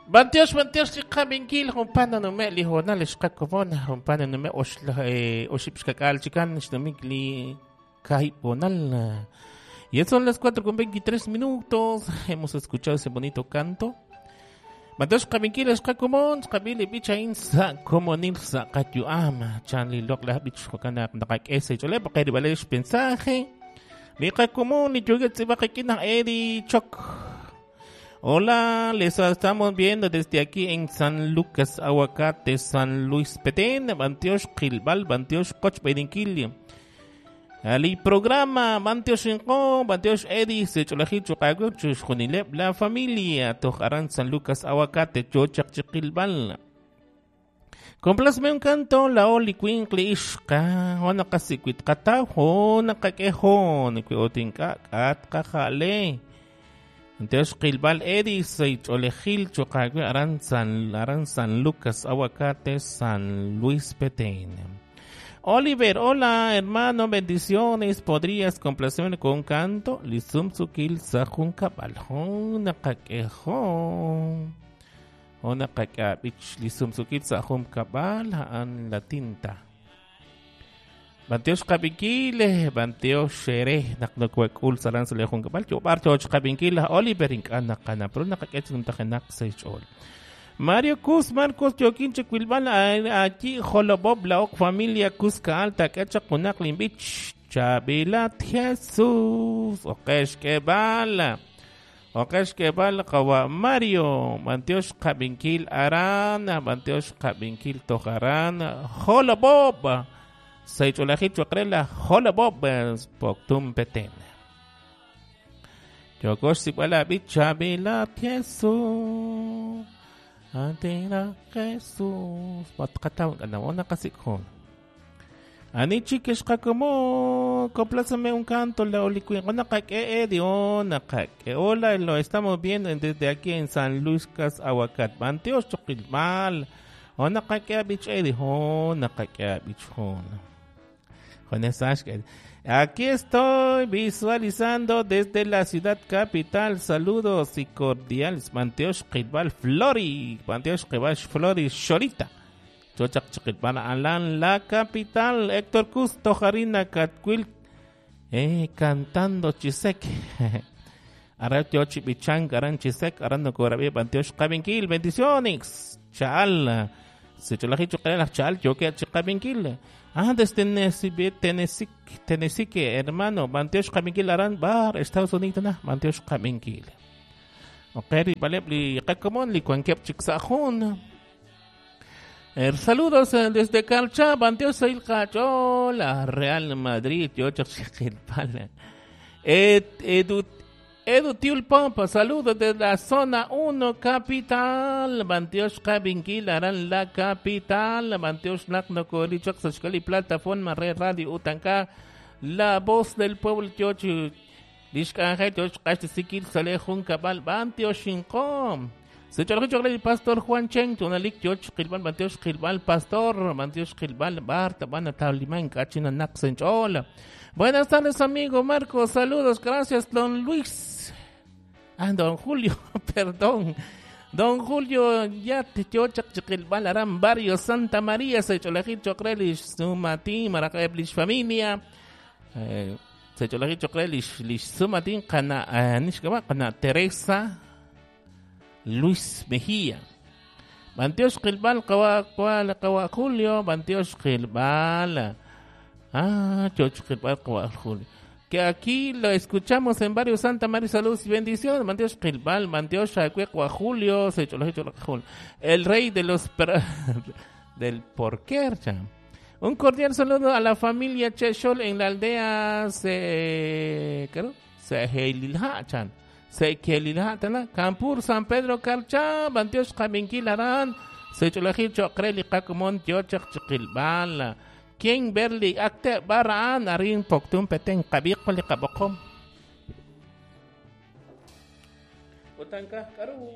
Bantiox, bantiox li qabinkil jumpana nume li honal xqakomon jumpana nume oxib xkak'al chikan xnumik li kahibonal. Y son las 4:23. Hemos escuchado ese bonito canto. Bantiox qabinkil xqakomon xqabili bichain sa komonil sa qatyuam chan li lok la bich jokana naqak'ese chole baqeri mensaje. Li qakomon li yuget tzibaqikina Eddie Chok. Hola, les estamos viendo desde aquí en San Lucas Aguacate, San Luis Petén, Bantiosh Qilbal, Bantiosh Koch Bedinkil. Ali programa, Bantiosh Inko, Bantiosh Eddie, Secholajil Chukago, Chushunilep, la familia, Tojaran San Lucas Aguacate, Chochak Chiquilbal. Complázme un canto, la oli cuinkli ishka, ona kasikwit kataw, ona kakehon, kwiotinka, kat kakale. Entonces, Qilbal Eddie, Seicholejil, Chocagüe, Aran San Lucas, Aguacate, San Luis Petén. Oliver, hola, hermano, bendiciones. ¿Podrías complacerme con un canto? Lisum Sukil, Sajun Kabal, Nakakejo. Onakakabich, Lisum Sukil, Sajun Kabal, An la tinta. Bantiox qabinkil, Bantiox xere, naqnokuekul saran salejun kabal, yobar toch qabinkil, Oliver ink'an naqana, pero naqak'ech numtajenak seichol. Mario Cus, Marcos Joaquín Chiquilbal, aquí Jolobob, la ok familia Cusca Alta, Quecha Kunak Limbich, Chabilat Jesús, Okesh Kebala, Okesh Kebal, Kawa Mario, Bantiox qabinkil Arana, Bantiox qabinkil Tojarana, Jolobob. Seicholaji chokrela hola bob poktum peten. Yokosh sipala bichabila Jesús. Antena Jesús. Patkataw na kasikhon. Ani chiques como complázame un canto la olicuin. Ona kake diona kake. Hola, lo estamos viendo desde aquí en San Luis Cas Aguacat. Banteos choquilmal. Ona kake bich edi hona kake bich hona. Aquí estoy visualizando desde la ciudad capital. Saludos y cordiales. Manteosh Qilbal Flori. Manteosh Qilbal Flori Shorita. Chochak Chiquilbal Alan, la capital. Héctor Custo, Jarina Catquil. Cantando Chisek. Aratiochi Bichang, Aran Chisek, Arando Corabi, Manteosh Qabinkil. Bendiciones. Chal. Secholaji Chocarela, Chal, Yoke, Chiqabinkil. Ah, desde Tennessee, hermano, Bantiosh Qabinkil Aran Bar, Estados Unidos, na, Bantiosh Qabinkil. Ok, vale, li qakomon li kuankep chiksajun. Saludos desde Calcha, Bantiosh Ilcachola, Real Madrid, Yochak Chiquilpala. Edu Tiul Pompa, saludos desde la zona 1, capital. Bantiosh Qabinkil Aran la capital. Bantiosh Nakno Korichok Sashkali, plataforma Red Radio Utanka, la voz del pueblo Tiochu. Lishkanje Tioch Kashtisikil Salejun Kabal, Bantiosh Inkom. Sechorri Pastor Juan Chen, Tunalik Tioch Qilbal, Bantiosh Qilbal, Pastor, Bantiosh Qilbal, Barta, Bana Tauliman, Kachina Naxench. Hola. Buenas tardes, amigo Marcos. Saludos, gracias, don Luis. Ah, don Julio, perdón. Don Julio, ya te chochak chiquilbal aram barrio Santa María, Secholajil Chocrelish, Sumati, Maracablish familia. Secholajil Chocrelish, Lish Sumatin, Cana, Nishkaba, Cana Teresa Luis Mejía. Bantiosh Qilbal, Kawa, Kawa Julio, Bantiosh Qilbal. Ah, Choch Qilbal, Kawa Julio. Que aquí lo escuchamos en varios Santa María, saludos y bendiciones. Manteosh Qilbal, Manteosh Acuecua Julio, el rey de los del porquercha. Un cordial saludo a la familia Cheshol en la aldea Sekelilhachan, Campur, San Pedro Carcha, Manteosh Qabinkil Aran, Secholajil Chocreli Kakumon, Tiochak Chiquilbal. King Berli akte baraan arin poktum peten kabiq li kabokom. Utanka karu.